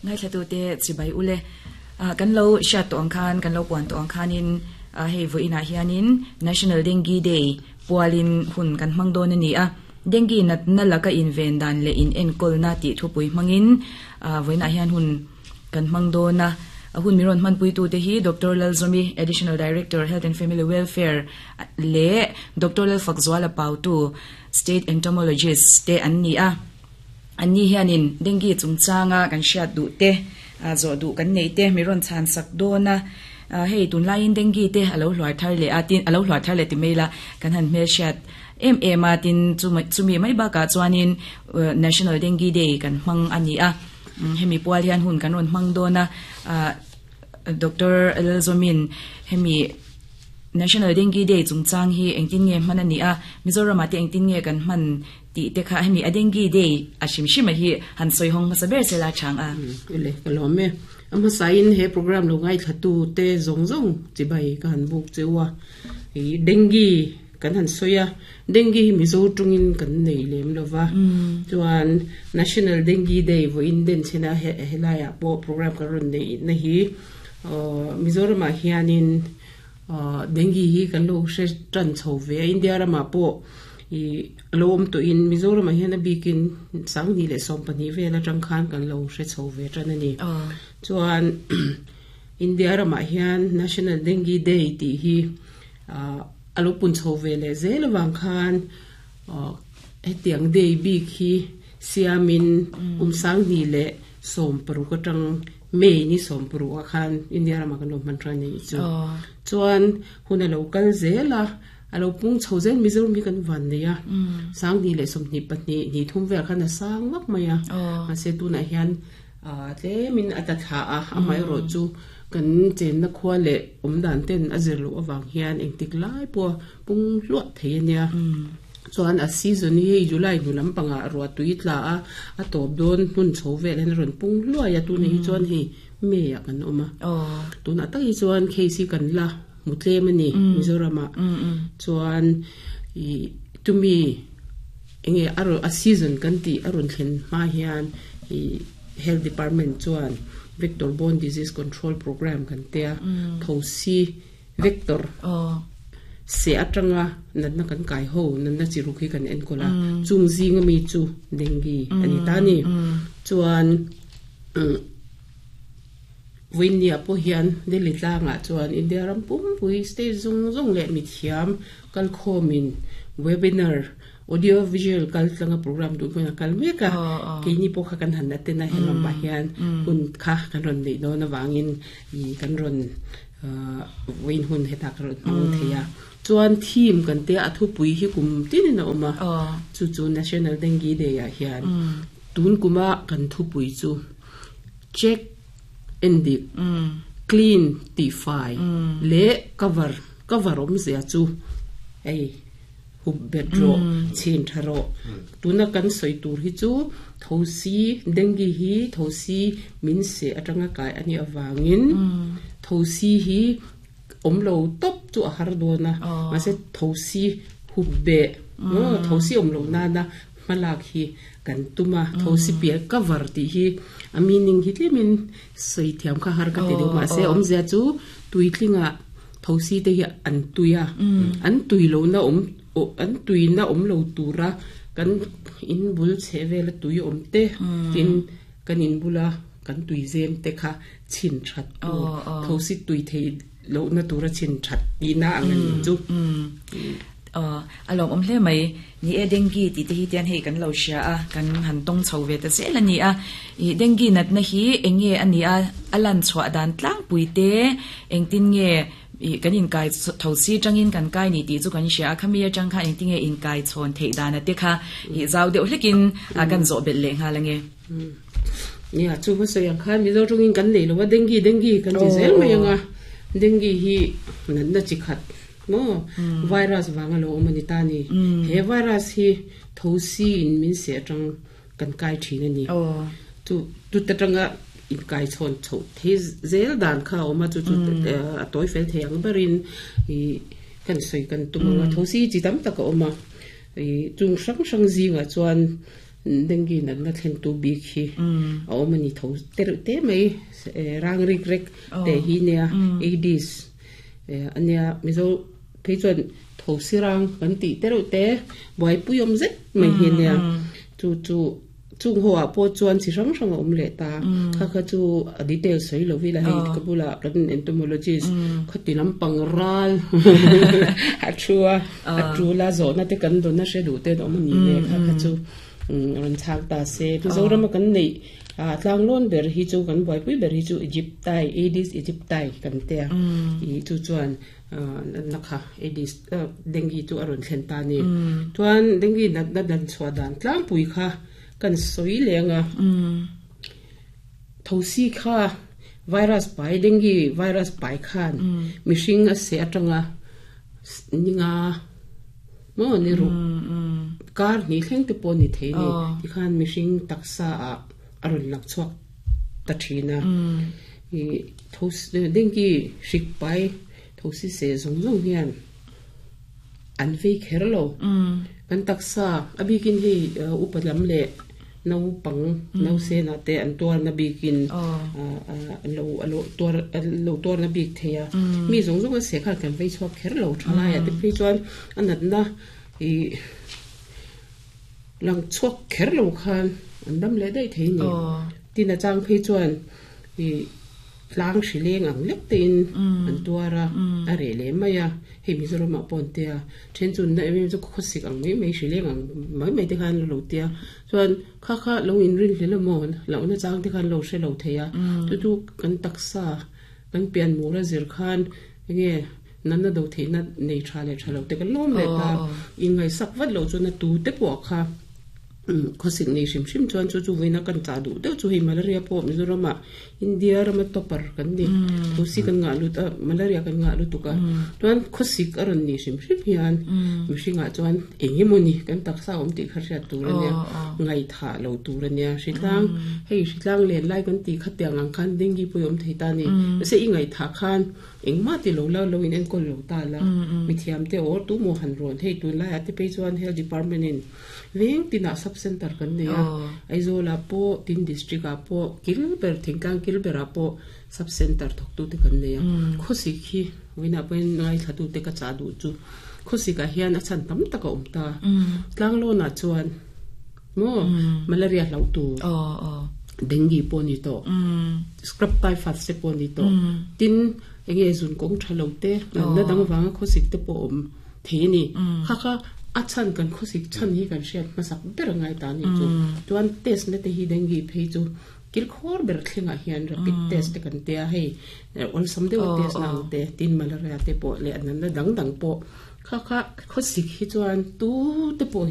Ngaithlatute chibai ule. Kan lo hriat tawh ang khan, kan lo puan tawh ang khanin hei vawiinah hianin National Dengue Day pualin hun kan hmang dawn a ni a. Dengue natna laka inven dan leh inenkawlna tih thupui hmangin vawiinah hian hun kan hmang dawn a. A hun mi rawn hmanpuitute hi Doctor Lalzawmi, Additional Director, Health and Family Welfare leh Doctor Lalfakzuala Pautu, State Entomologist te an ni a. Anni hianin dengue chungchanga kan hriat duh te, zawh duh kan neih te mi rawn chhan sak dawn a. Hei tunlaiin dengue te a lo hluar thar leh a, tin a lo hluar thar leh ti mai ila kan han hmelhriat em em a, tin chumi mai bakah chuanin National Dengue Day kan hmang a ni a. Hemi pual hian hun kan rawn hmang dawn a, Doctor Lalzawmin hemi National Dengue Day chungchang hi engtin nge hman a nih a, Mizoramah te engtin nge kan hman tih te kha hemi a Dengue Day a hrim hrim a hi han sawi hawng hmasa ber sela chang a. Ele, ka lawm e. A hmasain he program lo ngaithlatu te zawng zawng chibai ka han buk cheu a. I Dengue kan han sawi a, Dengue hi Mizo tungin kan nei lem lo va. Chuan National Dengue Day vawiin den chhena helaiah pawh program kan rawn neih na hi Mizoramah hianin Dengue hi kan lo hre tan chho ve a, India ramah pawh ih a lo awm tawhin Mizoramah hian a bikin Sanghnih leh Sawmpahnih vel atang khan kan lo hre chho ve tan a ni. Chuan India ramah hian National Dengue Day tih hi a lo pun chho ve leh zel avang khan hetiang day bik hi siamin kum Sanghnih leh 60 atang May ni 60 ah khan India ramah kan lo hman tran a nih chu. Chuan hun a lo kal zel a, a lo pung chho zel Mizoram hi kan van nei a, 20 leh 22 ni thum velah khan a sang vak mai a, mahse tunah hian tlemin a ta thla a, amaherawh chu kan chenna khua leh awm dan ten a zir loh avang hian engtik lai pawha pung hluah thei a nia. Chuan a season hi hei July hnu lampangah ruah tui tla a, a tawp dawn hmun chho vel hian a rawn pung hluai a, tunah hi chuan hei May ah kan awm a. Tunah tak hi chuan case hi kan la hmu tlem a ni Mizoramah. Chuan ih tumi enge a rawn a season kan tih a rawn thlen hma hian ih Health Department chuan Vector Borne Disease Control Programme kan tia thosi Vector, Seh atanga natna kan kai ho, natna chi ruk hi kan enkawl a, chung zinga mi chu dengue a ni ta a ni. Chuan Vawinia pawh hian Delhi tlangah chuan India ram pumpui state zawng zawng leh mithiam kalkhawmin webinar, audio visual kal tlanga program duh hmun a kal mek a, keini pawh kha kan han attend a, helamah hian hun kha kan rawn neih dawn avangin kan rawn Vawiin hun hetah ka rawn hmang thei a. Chuan theme kan tia a thupui hi kum tinin a awm a. Chu chu National Dengue Day ah hian tun kuma kan thupui chu check endik, clean tihfai leh cover, cover awmzia chu hei hup bet rawh, chhin tha rawh. Tuna kan sawi tur hi chu thosi, dengue hi thosi min seh atanga kai a nih avangin thosi hi awm lo tawp chu a har dawn a, mahse thosi hup beh, thosi awm loh nana hmalak hi kan tum a, thosi piah cover tih hi a meaning hi tlemin sawi thiam kha har ka ti deuh mahse awmzia chu tuitlingah Thosi te hi an tui a, an tui lohna awm an tuina awm lo tura kan in bul chheh vela tui awm te tin kan in bula kan tui zem te kha chhin that tur thosi tui thei lohna tura chhin that tihna ang a nih chu. A lawmawm hle mai. Ni e, dengue tih te hi tian hei kan lo hria a, kan han tawng chho ve ta zel a ni a. Ih dengue natna hi eng nge a nih a, a lan chhuah dan tlangpui te engtin nge ih kan inkai tho si tangin kan kai ni tih chu kan hria a, khami atang khan engtin nge inkai chhawn theih dan a te kha ih zau deuh hlekin kan zawh belh leh nghal ange. Nia, chu hmasawi ang khan Mizo tawngin kan nei lo a, dengue dengue kan ti zel mai ang a, dengue hi natna chi khat Maw? Virus vang a lo awm a ni ta ni. He virus hi thosi in min seh atang kan kai thin a ni. Chu tut atanga inkai chhawn chhoh thei zel dan kha a awm a, chu chu a tawi fel thei ang berin ih kan sawi kan tum ang a. Thosi chi tam tak a awm a, ih chung hrang hrang zingah chuan. Dengue natna thlen tu bik hi a awm a ni tho tereuh te mai rang rik rek te hi nia Aedes a nia Mizo phei chuan thosi rang kan tih tereuh te buaipui awm zet mai hi a nia chu chu chung ho ah pawh chuan chi hrang hrang a awm leh ta kha kha chu a detail sawi lo ila hei ka bulah kan entomologist khati lampang ral a thu a a tul a zawhna te kan dawn a hre duh te an awm a ni le kha kha chu rawn chhak ta se Mizorama kan neih ah tlanglawn ber hi chu kan buaipui ber hi chu Aegypti Aedes aegypti kan tia ih chu chuan natna kha Aedes dengue chu a rawn thlen ta a ni. Chuan dengue natna dan chhuah dan tlangpui kha kan sawi leng a, thosi kha virus pai dengue virus pai khan mihring a seh atanga ninga maw ni ruk kar hnih thleng te pawh a ni thei a ni. Tikhan mihring taksa ah a rawn lang chhuak ta thin a. Ih thosi dengue hrik pai thosi seh zawng zawng hian an vei kher lo. Kan taksa a bikin hei upa lam leh naupang nausenah te an tuarna bikin lo lo tuar lo tuarna bik thei a. Mi zawng zawng a seh khan kan vei chhuak kher lo thalaiah te phei chuan a natna ih lang chhuak kher lo khan an dam leh daih thei a ni. Tin a chang phei chuan ih tlang hri leng ang lek tein an tuar a, a reh leh mai a, hei Mizoram ah pawh an tia, then chu na em em chu khawsik ang mai mai hri leng ang mai mai te khan lo tia, chuan kha kha lo inrin hlel emaw lohna chang te khan lo hre lo thei a, chu chu kan taksa kan pian mur a zir khan enge natna do theihna nei tha leh tha lo te kan lawm leh ta, inngaihsak vat loh chuan a tu te pawh kha. Khawsik nei hrim hrim chuan chu chu vawiina kan chah duh deuh chu hei malaria pawh Mizoram ah India rama topper kan ni thosi kan ngah lut a malaria kan ngah lutuk a chuan khawsik a rawn nih hrim hrim hian mihring ah chuan eng emaw ni kan taksa awm tih kha hriat tur a nia ngaihthah lo tur a nia hritlang hei hritlang len lai kan tih kha tiang ang khan dengue pawh i awm thei ta a ni mahse i ngaihthah khan Engmah ti lo la, lo in enkawl lo ta la, mithiam te aw tu maw han rawn hei tunlai ah te phei chuan health department in veng tinah sub center kan nei a, Aizawl ah pawh tin district ah pawh kil ber thingtlang kil ber ah pawh sub center thawk tu te kan nei a, khawsik hi vawiinah pawhin ngaithla tu te ka chah duh chu khawsik ah hian a chhan tam tak a awm ta, tlanglawn ah chuan maw malaria hlauh tur dengue pawh a ni tawh scrub typhus te pawh a ni tawh tin eng nge zun kawng tha lo te natna dang vanga khawsik te pawh a awm thei a ni kha kha a chhan kan khawsik chhan hi kan hriat hmasak ber a ngai ta a nih chu chuan test na te hi dengue phei chu kilkhawr ber thlengah hian rapid test te kan tia hei awlsam deuha test na ang te tin malaria te pawh leh natna dang dang pawh kha kha khawsik hi chuan tu te pawh hi.